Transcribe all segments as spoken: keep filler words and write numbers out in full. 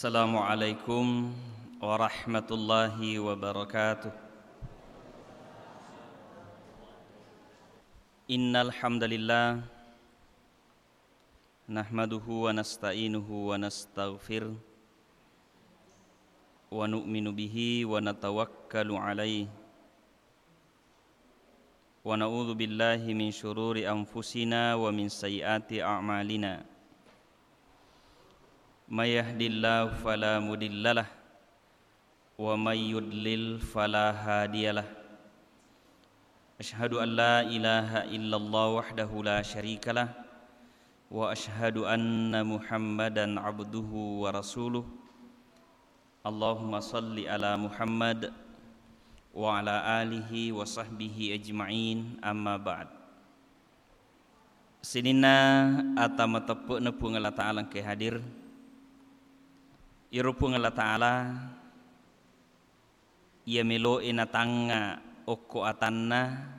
Assalamualaikum warahmatullahi wabarakatuh. Innal hamdalillah, nahmaduhu wa nasta'inuhu wa nastaghfiruh, wa nu'minu bihi wa natawakkalu alaihi, wa na'udzu billahi min syururi anfusina wa min sayyiati a'malina. May yahdillahu fala mudhillalah, wa may yudlil fala hadiyalah. Asyhadu an la ilaha illallah wahdahu la syarikalah, wa asyhadu anna Muhammadan abduhu wa rasuluh. Allahumma salli ala Muhammad wa ala alihi wa sahbihi ajma'in, amma ba'd. Sininna ata mateppe'na Puang Allah Ta'ala engkae hadir. Iyaro Puang Allah Ta'ala iya melo'e natangnga okko atanna,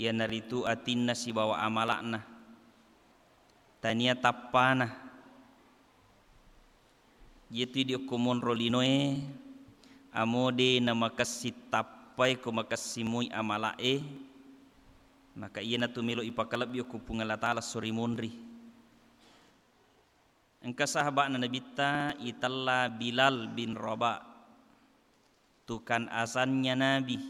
iyanaritu atinna sibawa amala'na. Tania tappana. Iyatu idi okko monro linoe, amo de namakessing tappai ko makessing moi amala'e, maka iyanatu melo ipakalebbi okko Puang Allah Ta'ala sori monri. Engka sahaba'na Nabitta itella Bilal bin Rabah, tukang azannya Nabi.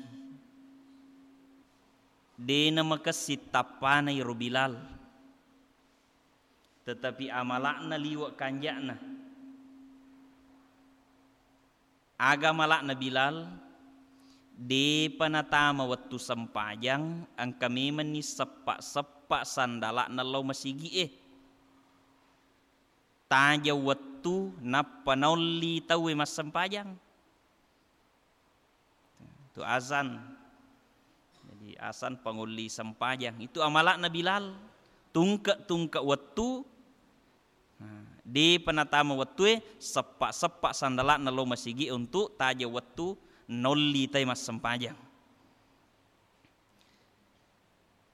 De namakessing tappana iro Bilal, tetapi amala'na liwe' kanja'na. Aga amala'na Bilal? Depa natama wettu sempajang, engka memenni seppa-seppa sandala'na lao masigi'e. Tajeng wettu nappa naolli tauwe massempajang. Tu azan. Jadi, azan pangolli sempajang. Itu amala'na Bilal. Tungke-tungke wettu. Nah, depa natama wettue, seppa-seppa sandala'na lao masigi untuk tajeng wettu naolli tai massempajang.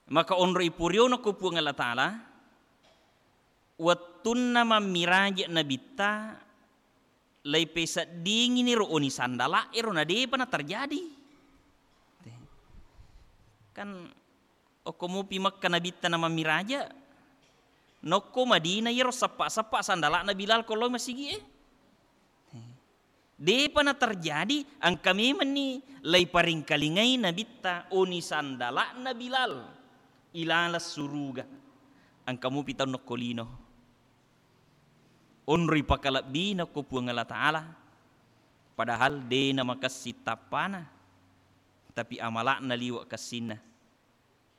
Maka onroi puriono ko Puang Allah Ta'ala, wettunna mammiraje Nabitta, laipeseddingini ro oni sandala'e ro, na depa na terjadi. Kan okko mupi Mekka Nabitta namammiraje, nokko Madinah iyaro seppa-seppa sandala'na Bilal ko lao masigi'e. Depa na terjadi, engka memenni laiparingkalingai Nabitta oni sandala'na Bilal ilaleng suruga. Engka mupi tau nokko lino. Onroi pakalebbina ko Puang Allah Ta'ala, padahal de namakessing tappana, tapi amala'na liwe' kessinna.